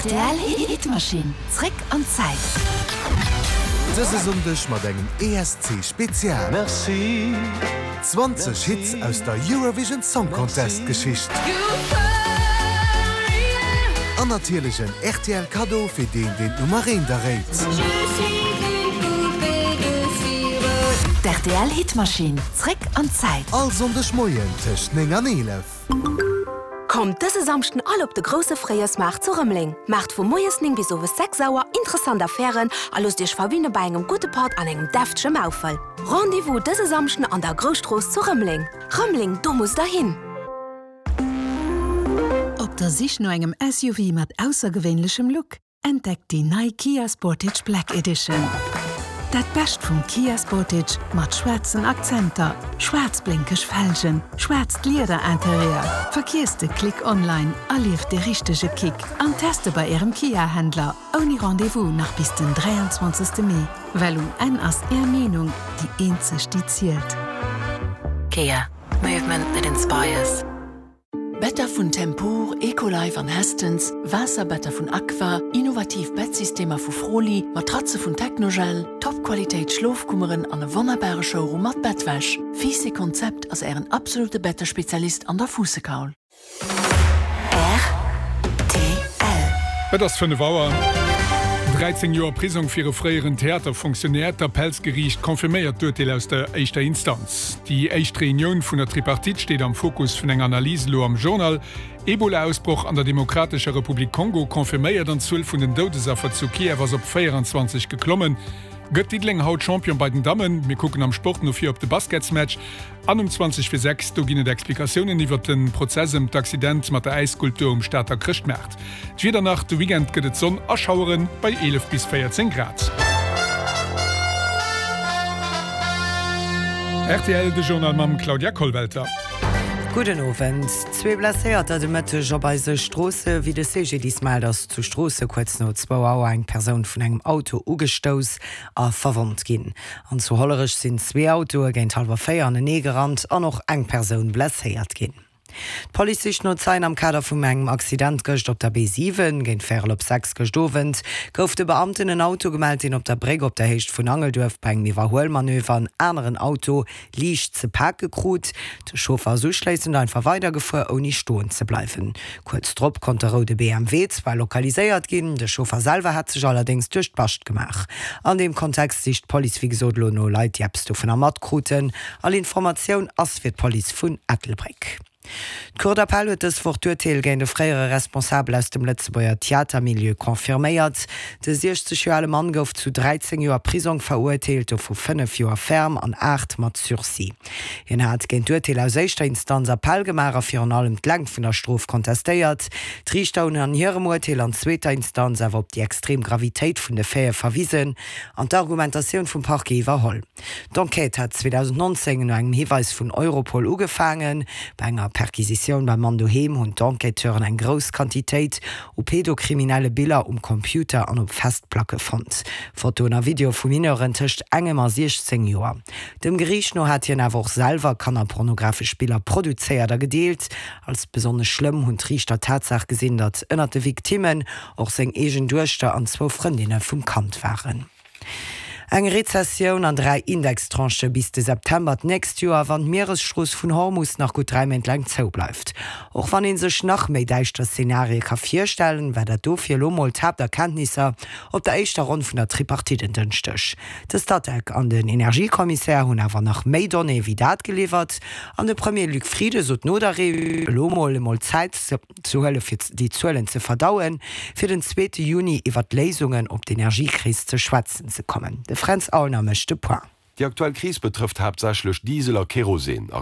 Rtl Hitmachine, zréck an d'Zäit. Dëse Sonndeg mat engem ESC Spezial. 20 Hits aus der Eurovision Song Contest Geschicht. An natierlech en rtl Kaddo fir deen deen d'Nummer eent erréit. D'RTL Hitmachine, zréck an d'Zäit. All Sonndeg Moien tëscht 9 an 11. Kommt dëse Samschden all op de grousse Fréijoersmaart zu Rëmeleng. Maacht vu moies 9 bis owes 6 Auer interessant Affären a loosst iech verwinne bei engem gudde Patt an engem deftege Maufel. Rendez-vous dëse Samschden an der Grousstrooss zu Rëmeleng. Rëmeleng, do musst der hin! Op der Sich no engem SUV mat aussergewéinlechem Look? Entdeckt déi nei Kia Sportage Black Edition. Dat Bescht vum Kia Sportage mat schwaarzen Akzenter, schwaarz-blénkeg Felgen, schwaarzt Lieder-Interieur. Verkiesst de Click online, erlieft de richtege Kick an teste bei Ärem Kia-Händler ouni Rendez-vous nach bis den 23. Mee, well um Enn ass Är Meenung déi eenzeg déi zielt. Kia, movement that inspires. Better vun Tempur, Ecolife an Hästens, Waasserbetter vun Aqua, innovativ Bettsystemer vu Froli, Matratze vun Technogel, Top-Qualitéit Schlofkummeren an e wonnerbare Showroom mat Bettwäsch. Fiiss Konzept ass ären absolute Bettespezialist an der Fuussekaul. Rtl. Et ass 5 Auer. 13 Joer Prisong fir e fréieren Theaterfonctionnaire, D'Appellsgeriicht confirméiert d'Urteel aus der éischter Instanz. Déi éischt Reunioun vun der Tripartite steet am Fokus vun enger Analys elo am Journal. Ebola-Ausbroch an der Demokratescher Republik Kongo confirméiert an d'Zuel vun den Doudesaffer zu Kiew ass op 24 geklommen. Gëtt Diddeleng haut Champion bei den Dammen? Mir kucken am Sport no vir op de Basketsmatch. An um 20 fir 6, do ginn et Explikatiounen iwwert de Prozess ëm d'Accident mat der Äisskulptur um Stater Chrëschtmaart. D'Wieder nach, De Weekend gëtt et Sonn a Schauere bei 11 bis 14 Grad. Rtl, De Journal mam Claudia Kollwelter. Gudden Owend. Zwee Blesséierter de Mëtteg op eise Stroosse. Wéi de CGDIS mellt, ass zu Stroosse kuerz no zwou Auer eng Persoun vun engem Auto ugestouss a verwonnt ginn. An zu Hollerech sinn zwee Autoe géint hallwer 4 anenee gerannt an och eng Persoun blesséiert ginn. D'Police sicht no Zeien am Kader vum engem Accident gëscht op der B7. Géint véierel op 6 gëscht Owend gouf de Beamten en Auto gemellt, deen op der Bréck op der Héicht vun Angelduerf bei engem Iwwerhuelmanöver en aneren Auto liicht ze pake krut. De Chauffer ass uschléissend einfach weidergefuer, ouni stoen ze bleiwen. Kuerz drop konnt de roude BMW zwar lokaliséiert ginn, de Chauffer selwer hat sech allerdéngs duerch d'Bascht gemaach. An deem Kontext sicht d'Police wéi gesot elo no Leit, déi eppes dovunner matkruten. All Informatioun ass fir d'Police vun Ettelbréck. D'Cour d'appel huet dës Woch d'Urteel géint e fréiere Responsabel aus dem Lëtzebuerger Theatermilieu confirméiert. De 60 Joer ale Mann gouf zu 13 Joer Prisong verurteelt, dovu 5 Joer ferme an 8 mat Sursis. Hien hat géint d'Urteel aus éischter Instanz Appell gemaach a virun allem d'Längt vun der Strof kontestéiert. D'Riichter hunn an hirem Urteel an zweeter Instanz awer op déi extrem Gravitéit vun de Faite verwisen an d'Argumentatioun vum Parquet iwwerholl. D'Enquête hat 2019 no engem Hiweis vun Europol ugefaangen. Bei enger Perquisitioun beim Mann doheem hunn d'Enquêteuren eng grouss Quantitéit u pedokriminelle Biller um Computer an op Festplacke fonnt. Fotoen a Videoe vu Mineuren tëscht engem a 16 Joer. Dem Geriicht no hat hien awer och selwer kannerpornografesch Biller produzéiert a gedeelt. Als besonnesch schlëmm hunn d'Riichter d'Tatsaach gesinn, datt ënnert de Victimmen och seng eegen Duechter an zwou Frëndinne vum Kand waren. Eng Rezessioun an 3 Indextranchë bis de September d'nächst Joer, wann d'Mieresstrooss vun Hormus nach gutt 3 Méint laang zou bleift. Och wann ee sech nach méi däischter Zenarie ka virstellen, war dat dofir elo mol d'Haapterkenntnisser op der éischter Ronn vun der Tripartite en Dënschdeg. De Statec an den Energiekommissär hunn awer nach méi Donnéeë wéi dat geliwwert an de Premier Luc Frieden sot no der Reunioun, elo mol emol Zäit ze huele fir déi Zuelen ze verdauen, fir den zweete Juni iwwert Léisungen op d'Energiekris ze schwätzen ze kommen. De Fränz Aulner mécht de Point. Déi aktuell Kris betrëfft haaptsächlech Diesel a Kerosin.